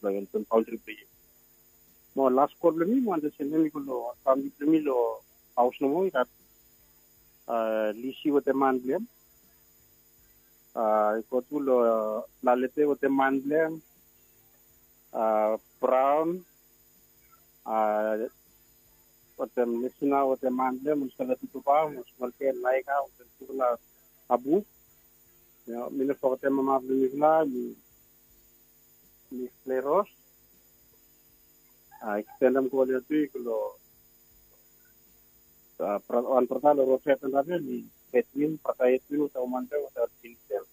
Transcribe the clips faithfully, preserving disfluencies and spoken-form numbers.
blong helpem paoltri blong yu. Mo las kol blong mi mi wantem sendem i go long famili blong mi long haos nomo i gat, lisi wetem man blong hem. I go tu long lalete wetem man blong hem, braon, wetem lesina wetem man blong hem, olsela tutuba mo smolke naika wetem tufala abu. Mi no fogetem mama blong mifala mi, mi kleros. Ekstendem go oli atu i go long wan brata long rosea tanda blong mi, edwin brata edwin wetem woman blong hem wetem ol pikinini blong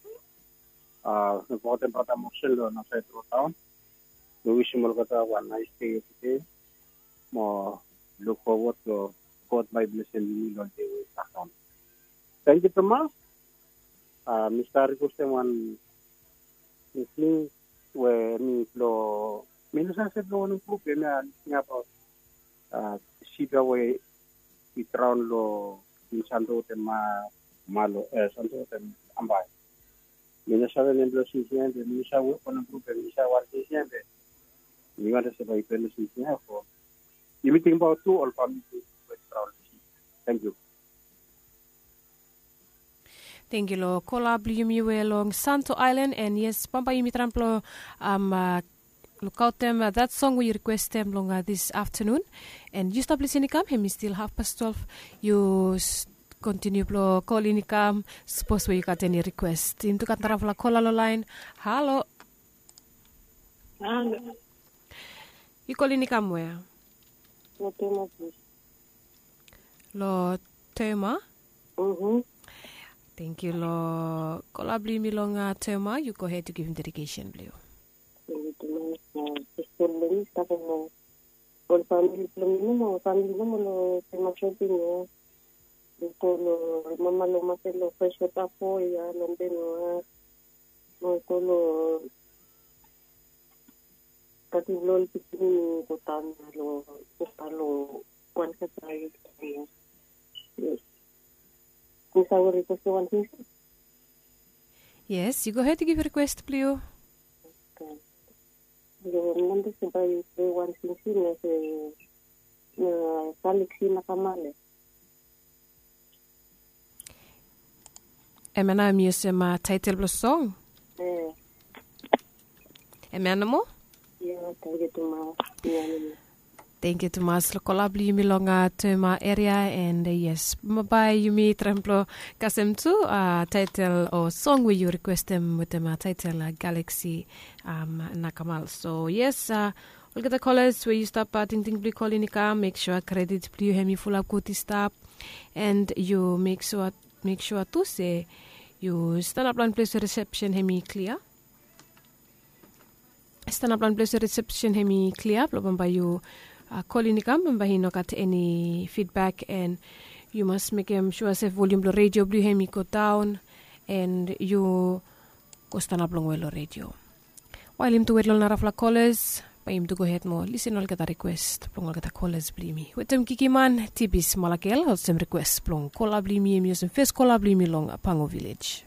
hem. Mi fogetem brata mosen long nasaed rotaon. Mi wisim olgeta wan nais dei evridei. Mo luk fowod long god bai blesem yumi long dei we i kam. Tangkiu tumas. Mi stap rikwestem wan tingting we mi blong mi no save se blong wanem grup hemia, tingting abaot sip ya we i draon long in santo wetem malo, santo wetem ambai. Mi no save nem blong sipsip ya be mi no save wanem grup ya, mi save wan sipsip ya be mi wantem se bai i pele sipsip ya fo yumi tingbaot tu ol famili we i draon long sipsip. Tangkiu. Tangkiu long kola blong yumi we long santo aelan, and yes, bambae yumi traem blong lukaotem that song we yu rikwestem long this aftanun. And yu stap lisin i kam, hem i stil hafpas twelef. Yu kontiniu blong kol in i kam sapos we yu gat eni rikwes. Yumi tu gat narafala kola long laen. Halo. Yu kol in i kam we? Long tema. Tangkiu long kola blong yumi long tema. Yu gohed yu givim dedikesen blong yu. Ol famili blong mi nomo, ol famili nomo long tema shopping ya. Yu go long mama long maket long fes wota fo ya long ben wa. Mo go long tati blong ol pikinini go taon ya long wota long wan kata ya. Mi save rikwestem wan tingting? Yes, yu gohed yu givim rikwes blong yu. Yu wantem se bai yu plei wan tingting ya se na Galaxy Nakamale. Hemia nao mi olsem taetel blong song. Hemia nomo. Tangkiu tumas long kola blong yumi long tema eria. And yes, bambae yumi traem blong kasem tu taetel o song we yu rikwestem wetem taetel Galaxy Nakamal. So yes, olgeta kolas we yu stap tingting blong yu kol in i kam, mek sua kredit blong yu hem i fulap gud i stap. And yu mek sua tu se yu stanap long wan ples we risepsen hem i klia. Stanap long wan ples we risepsen hem i klia blong bambae yu kol in i kam, bambae i no gat eni fidbak. And yu mas mekem sua se volium blong redio blong yu hem i go daon. And yu go stanap longwe long redio. Wael yumi tu wet long narafala kolas, bae yumi tu gohed mo lisin olgeta rikwes blong olgeta kolas blong yumi. Wetem Kikiman, Tibis Malakel, olsem rikwes blong kola blong yumi, hem i olsem fes kola blong yumi long Pango Vilej.